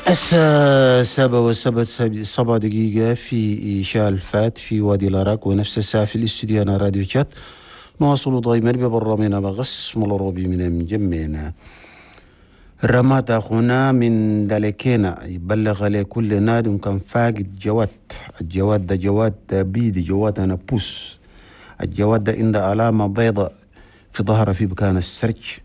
الساعة 7:07 في شالفات في وادي العراق، ونفس الساعة في الاستديو أنا راديو شات. نواصل دائما ببرنامجنا بغص الروبي من مجمعنا. رمات أخونا من دالكينا يبلغ لكل نادم كان فاقد جواد. الجواد ده جواد بيدي، جواد أنا بوس. الجواد ده عنده علامة بيضاء في ظهره في مكان السرج.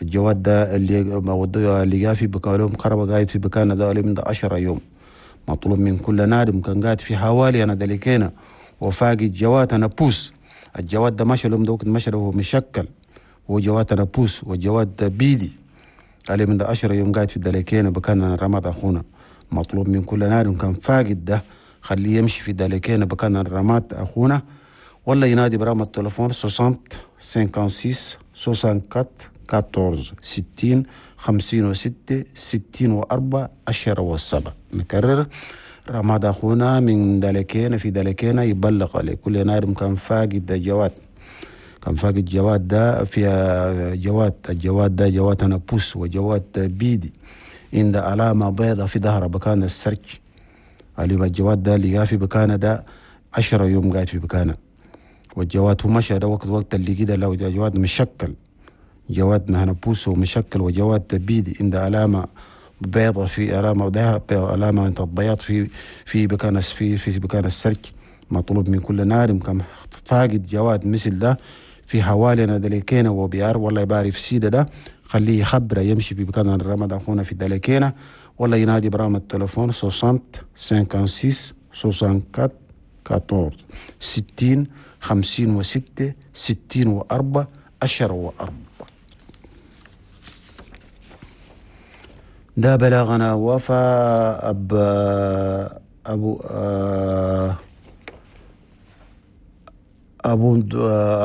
الجواد ده اللي جاء في بكالهم خرب قاعد في بكان ده من 10 يوم. مطلوب من كل نادم كان قاعد في حوالي أنا دالكينا وفاقد جواد أنا بوس. الجواد ده مشى لهم دوك مشى له مشكل، وجواد أنا بوس وجواد بيدي عليه من 10 يوم قاعد في الدلكينة بكان رماد أخونا. مطلوب من كل نادم كان فاقد ده خليه يمشي في الدلكينة بكان رماد أخونا، ولا ينادي برقم التليفون 60 56 64 14 60 56 64 10 و7. نكرر، رماد أخونا من دلكينة في دلكينة يبلغ عليه كل نادم كان فاقد ده جواد، كان فاقد جواد ده في جواد. الجواد ده جواد أنا بوس وجواد بيدي عند علامة بيضة في ظهره بكان السرج. اللي الجواد ده اللي في بكانة ده 10 يوم قاعد في بكانة، والجواد هو مشى ده وقت اللي كده لو جواد مشكل، جواد أنا بوس ومشكل وجواد بيدي عند علامة بيضة في علامة ده علامة بياض في بكان في بكان السرج. مطلوب من كل نادم كان فاقد جواد مثل ده في حوالينا دلكينا وبيار ولا يباري في سيدة ده خليه يخبره يمشي في بكان الرماد أخونا في دلكينا، ولا ينادي برقم التليفون 60 56 64 14 60 56 64 10 و4. ده بلاغنا وفا أب أبو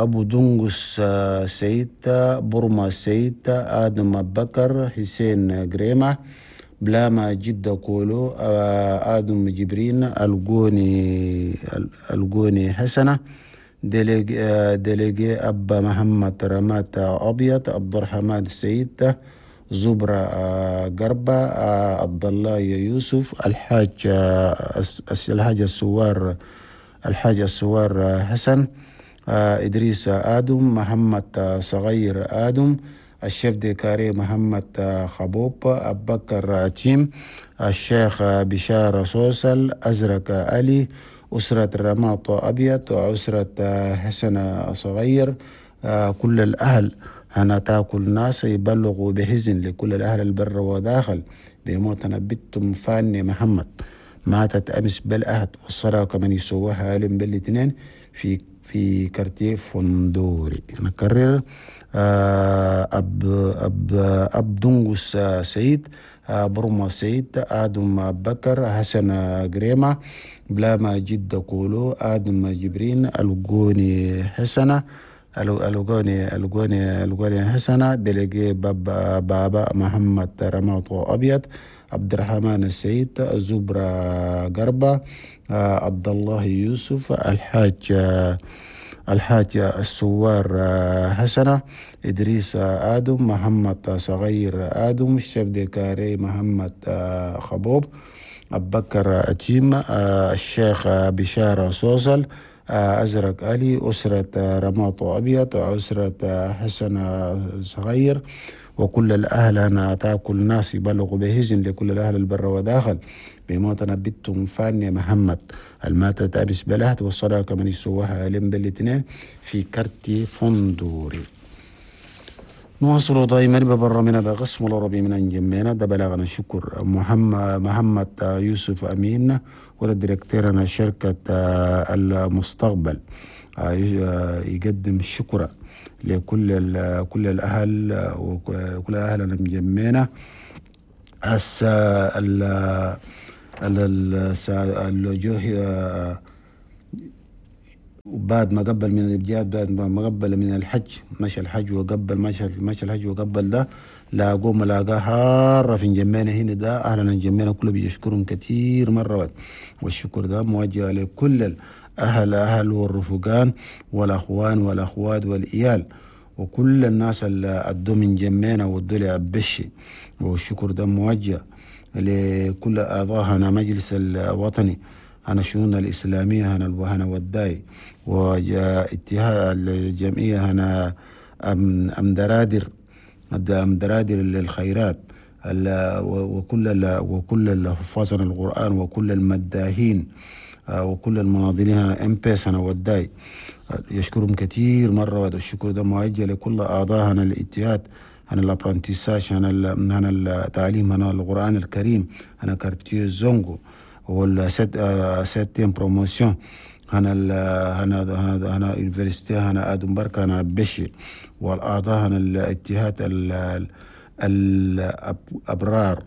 أبو دنقس سيد، برما سيد، آدم بكر، حسين جريمة، بلاما جدة كولو، آدم جبرين، الجوني حسنة، ديليجي أبا محمد رمات أبيض، عبد الرحمن سيد، زبرة قربة، عبد الله يوسف، الحاج السوار حسن، إدريس آدم، محمد صغير آدم، الشيف ديكاري محمد خبوب، أبكر عتيم، الشيخ بشار سوسل، أزرق علي، أسرة رماط أبيض، وأسرة حسن صغير. كل الأهل هنا تاكل ناس يبلغوا بحزن لكل الأهل البر وداخل بموتنا بنت فاني محمد، ماتت أمس بالأهد، والصلاة كمان يسووها علم بالاثنين في كارتيه فندوري. نكرر، أب أب أب دنقس سيد، برما سيد، آدم بكر، حسن جريمة، بلاما جدة كولو، آدم جبرين، الجوني حسنة، الجوني حسنة، دلقي بابا محمد رماط أبيض، عبد الرحمن السيد، زبرة قربة، عبد الله يوسف، الحاج السوار حسنة، إدريس آدم، محمد صغير آدم، الشيف ديكاري محمد خبوب، أبكر أتيم، الشيخ بشارة سوسل، أزرق علي، أسرة رماط أبيض، أسرة حسن صغير، وكل الأهل أنا تاكل ناس يبلغ بهزن لكل الأهل البر وداخل بموتنا بنت فاني محمد الماتت أمس بلهت، والصلاة كمان يسووها علم بالاثنين في كارتي فندوري. نواصل دائما ببرنامجنا بقسم العربي من انجمينا. ده بلاغنا شكر محمد يوسف أمين ولا ديريكتيرنا شركة المستقبل يقدم الشكر لكل كل الأهل وكل أهلنا مجمعنا. الجوه بعد ما قبل من الجهاد، بعد ما قبل من الحج، مشى الحج وقبل مشى الحج وقبل ده لاقوه ملاقاه حارة في جمينا هنا. ده أهلنا جمينا كله بيشكرهم كثير مرة، والشكر ده موجه لكل الأهل والرفقان والأخوان والأخوات والإيال وكل الناس اللي أدوا من جمينا ودوا لي أبشي، والشكر ده موجه لكل أعضاء هنا مجلس الوطني هنا الشؤون الإسلامية هنا هنا وداي، واتهاء الجمعية هنا أم درادر، أم درادر للخيرات، وكل الحفاظ القرآن وكل المداهين وكل المناضلين هنا ام بي هنا وداي، يشكرهم كثير مرة. وهذا الشكر ده موجه لكل أعضاء هنا الاتحاد هنا l'apprentissage هنا هنا التعليم هنا القرآن الكريم هنا quartier زونغو وال septième promotion هنا هنا هنا هنا université هنا ادم بركة هنا بشي، والاعضاء هنا الاتحاد الابرار،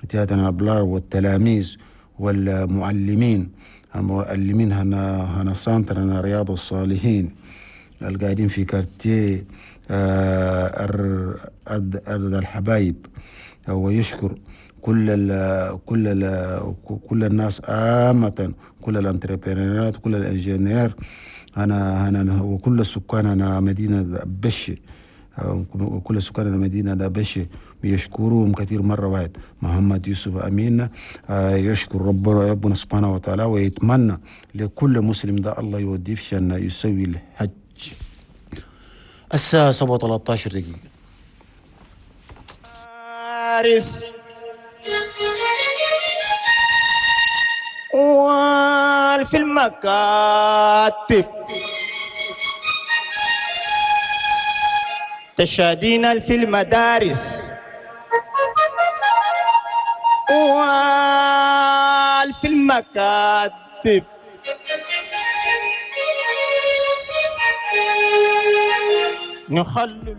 اتحاد الابرار والتلاميذ والمعلمين، المعلمين هنا هنا centre هنا رياض الصالحين القاعدين في quartier أرض الحبايب. ويشكر كل ال كل ال كل الناس عامة، كل ال entrepreneur ات، كل ال ingénieur أنا أنا وكل السكان أنا مدينة بشي، كل سكان المدينة بشي يشكرهم كثير مرة واحد. محمد يوسف أمين يشكر ربنا سبحانه وتعالى ويتمنى لكل مسلم ده الله يوديه في شأن يسوي الحج. الساعة 7:13 دقيقة. في المكاتب تشادين في المدارس في المكاتب نخلل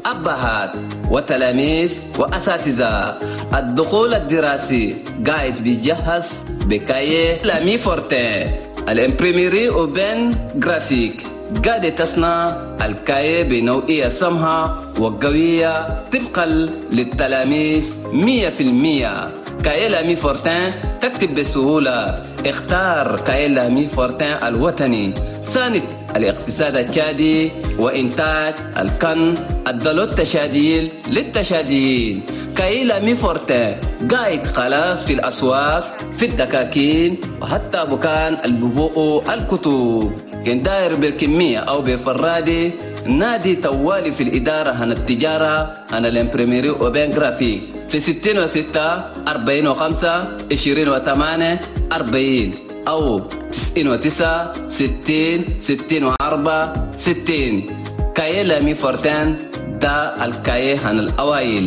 أبهات وتلاميذ وأساتذة. الدخول الدراسي قاعد بيجهز ب cahier L'Ami Fortin، ال imprimerie Open Graphique قاعد تصنع ال cahier بنوعية سمحة وقوية طبقا للتلاميذ 100%. cahier L'Ami Fortin تكتب بسهولة. اختار cahier L'Ami Fortin الوطني، ساند الاقتصاد التشادي وإنتاج الكن الدلو التشاديل للتشاديين. cahier L'Ami Fortin قاعد خلاص في الأسواق، في الدكاكين، وحتى بكان الببوء الكتب. كان داير بالكمية أو بفرادي نادي توالي في الإدارة هنا التجارة هنا ال imprimerie Open Graphique في 66 45 28 40 أو 99 60 64 60. cahier L'Ami Fortin دا ال cahier هن الأوائل.